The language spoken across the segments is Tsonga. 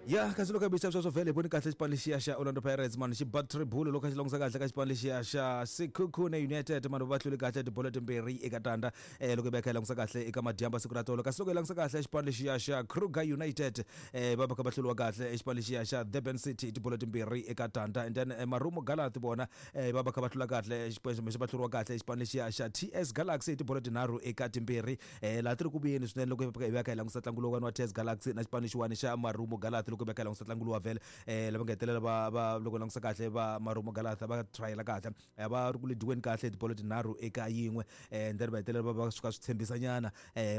Ya, kasi loko hi sweswo vhele hi voni kahle xipano lexiya xa Orlando Pirates mani xi ba tribule loko xi langutisa kahle ka xipano lexiya xa Sekhukhune United mani va hlule kahle tibolo timbirhi eka tandza loko hi va hi kha hi langutisa kahle eka madyambu siku ra tolo. Kasi loko hi langutisa kahle xipano lexiya xa Kruger United va va kha va hluriwa kahle xipano lexiya xa Durban City tibolo timbirhi eka tandza. And then Marumo Gallants vona va va kha va hlula kahle va hluriwa kahle xipano lexiya xa TS Galaxy tibolo tinharhu eka timbirhi. Laha ti ri ku vuyeni swinene loko hi va kha hi langutisa ntlangu lowuwani wa TS Galaxy na xipano lexiwani xa Marumo Gallants loko hi va kha hi langutisa ntlangu luwa vhele lava nga hetelela va va loko hi langutisa kahle va Marumo Gallants va trayela kahle, va ri ku lidiweni kahle hi tibolo tinharhu eka yin'we, and then va hetelela va va swi kha swi tshembisa nyana,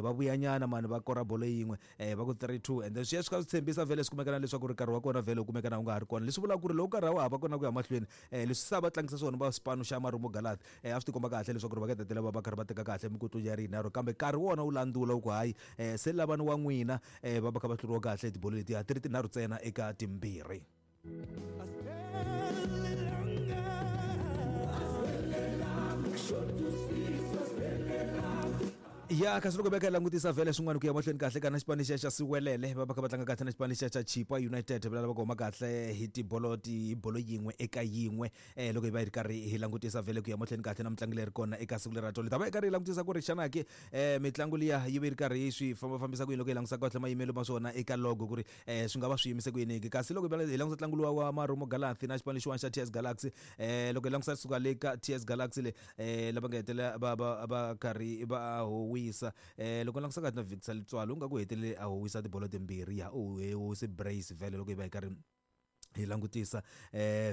va vuya nyana mani va kora bolo yin'we, va ku 3-2, and then swi ya swi kha swi tshembisa vhele swi kumeka na leswaku ri nkarhi wa kona vhele wu kumeka na wu nga ha ri kona, leswi vulaka ku ri loko nkarhi a wa ha va kona ku ya mahlweni, leswi se a va tlangisa swona va xipano xa Marumo Gallants, a swi tikomba kahle leswaku ri va nga hetelela va va karhi va teka kahle mikutlu ya ri yinharhu, kambe nkarhi wona wu landzula wu ku hayi, se lavani wa n'wina, va va kha va hluriwa kahle tibolo letiya ti ri tinharhu ntsena eka timbirhi. Ya, kasi loko va kha hi langutisa vhele swin'wana ku ya mahlweni kahle kana xipano lexiya xa Siwelele va va kha va tlanga kahle na xipano lexiya xa Chipa United va lava ku huma kahle hi tibolo ti bolo yin'we eka yin'we, loko hi va hi ri karhi hi langutisa vhele ku ya mahlweni kahle na mitlangu leyi ri kona eka siku leri ra tolo. Hi ta va hi karhi hi langutisa ku ri xana ke mitlangu liya yi ve yi ri karhi yi swi fambafambisa ku yini loko hi langutisa kahle mayimelo ma swona eka logo ku ri swi nga va swi yimise ku yini ke. Kasi loko hi langutisa ntlangu luwa wa Marumo Gallants na xipano lexiwani xa TS Galaxy, loko hi langutisa suka le ka TS Galaxy le, lava nga hetelela va va va karhi va howisa, loko langutisa kahle na Victor Letsoalo u nga ku hetelele a howisa tibolo timbirhi, ya u howise brace vhele loko hi va hi karhi hi langutisa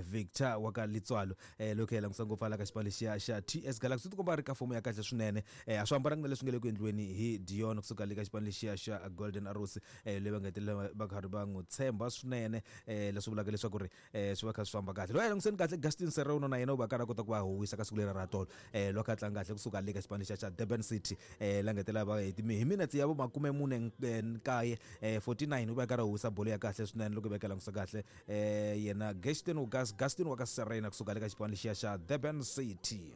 Victor wa ka Letsoalo, loko hi langutisa ngopfu hala ka xipano lexiya xa TS Galaxy u tikomba a ri ka fomo ya kahle swinene, a swi hambananga na leswi nga le ku endliweni hi Dion kusuka le ka xipano lexiya xa Golden Arrows, leyi va nga hetelela va karhi va n'wi tshemba swinene, leswi vulaka leswaku ri swi va kha swi famba kahle. Loyi a languseni kahle Gaston Serrano na yena u va karhi a kota ku va howisa ka siku leri ra tolo, loko a tlanga kahle kusuka le ka xipano lexiya xa Durban City, la nga hetelela va hi minetse ya vo makume mune nkaye, 49, u va karhi a howisa bolo ya kahle swinene loko hi va ka langutisa kahle, yena Gaston Gaston wa ka Serena kusuka le ka xipano lexiya xa Durban City.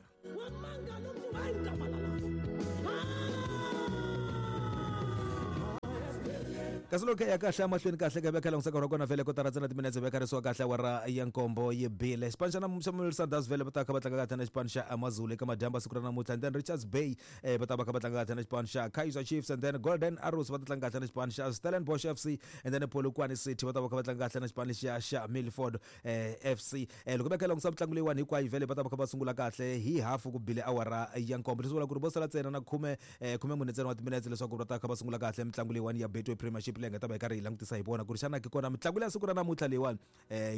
Kasi loko ya kahle emahlweni kahle ka veka langutisa nkarhi wa kona vhele kotara ntsena timinetse veka risiwa kahle awara ya nkombo yi bile. Xipano xa xa Mamelodi Sundowns vhele va ta kha va tlanga kahle na xipano xa Amazulu eka madyambu siku ra namuntlha, and then Richards Bay va ta va kha va tlanga kahle na xipano xa Kaizer Chiefs, and then Golden Arrows va ta tlanga kahle na xipano xa Stellenbosch FC, and then Polokwane City va ta va kha va tlanga kahle na xipano lexiya xa Milford FC. Loko va kha langutisa mitlangu leyiwani hinkwayo vhele va ta va kha va sungula kahle hi hafu ku bile awara ya nkombo, leswi vulaka ku ri vo sala ntsena na khume, khume mune ntsena wa timinetse leswaku va ta kha va sungula kahle mitlangu leyiwani ya Betway Premiership leyi nga ta va hi karhi hi langutisa hi vona ku ri xana ke kona mitlangu leya siku ra namuntlha leyiwani,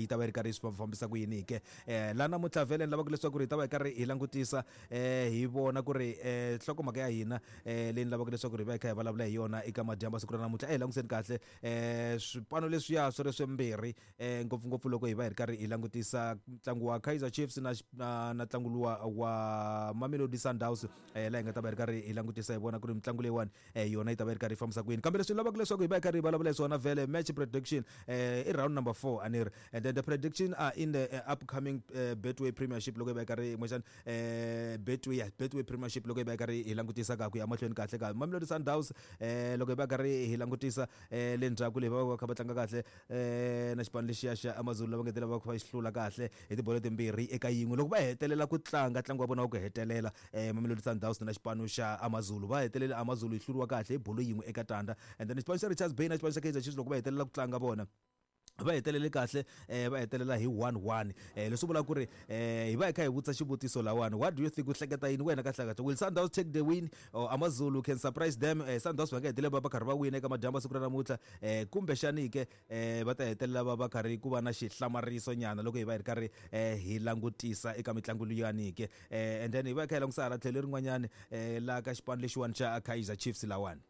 yi ta va yi ri karhi yi swi fambisa ku yini ke. Laha namuntlha vhele ni lavaka leswaku ri hi ta va hi karhi hi langutisa, hi vona ku ri nhlokomhaka ya hina, leyi ni lavaka leswaku ri hi va hi kha hi vulavula hi yona eka madyambu siku ra namuntlha. A hi languseni kahle swipano leswiya swi ri swimbirhi, ngopfungopfu loko hi va hi ri karhi hi langutisa ntlangu wa Kaizer Chiefs na na na ntlangu luwa wa Mamelodi Sundowns, laha hi nga ta va hi ri karhi hi langutisa hi vona ku ri mitlangu leyiwani, yona yi ta va yi ri karhi yi fambisa ku yini. Kambe leswi ni lavaka leswaku hi va hi karhi hi vulavula hi swona vhele match prediction, i round number 4 a ni ri, and then the prediction are in the upcoming Betway Premiership loko hi va hi karhi kumbexana, Betway, yeah, Betway Premiership loko hi va hi karhi hi langutisa ka ku ya mahlweni kahle ka Mamelodi Sundowns, loko hi va karhi hi langutisa, le ndzhaku leyi va va kha va tlanga kahle, na xipano lexiya xa Amazulu lava nga va kha va xi hlula kahle hi tibolo timbirhi eka yin'we loko va hetelela ku tlanga ntlangu wa vona wa ku hetelela, Mamelodi Sundowns na xipano xa Amazulu va hetelele Amazulu yi hluriwa kahle hi bolo yin'we eka tandza. And then xipano xa Richards Bay na xipano xa Kaizer Chiefs loko va hetelela ku tlanga vona va hetelele kahle, va hetelela hi 1-1, leswi vulaka ku ri, hi va hi kha hi vutisa xivutiso lawani, what do you think, u hleketa yini wena kahle kahle, will Sundowns take the win or Amazulu can surprise them? Sundowns va nga hetelela va va karhi va wina eka madyambu siku ra namuntlha, kumbexani ke, va ta hetelela va va karhi ku va na xihlamariso nyana loko hi va hi ri karhi, hi langutisa eka mitlangu liyani ke. And then hi va hi kha hi langutisa hala tlhelo lerin'wanyani, la ka xipano lexiwani xa Kaizer Chiefs lawani.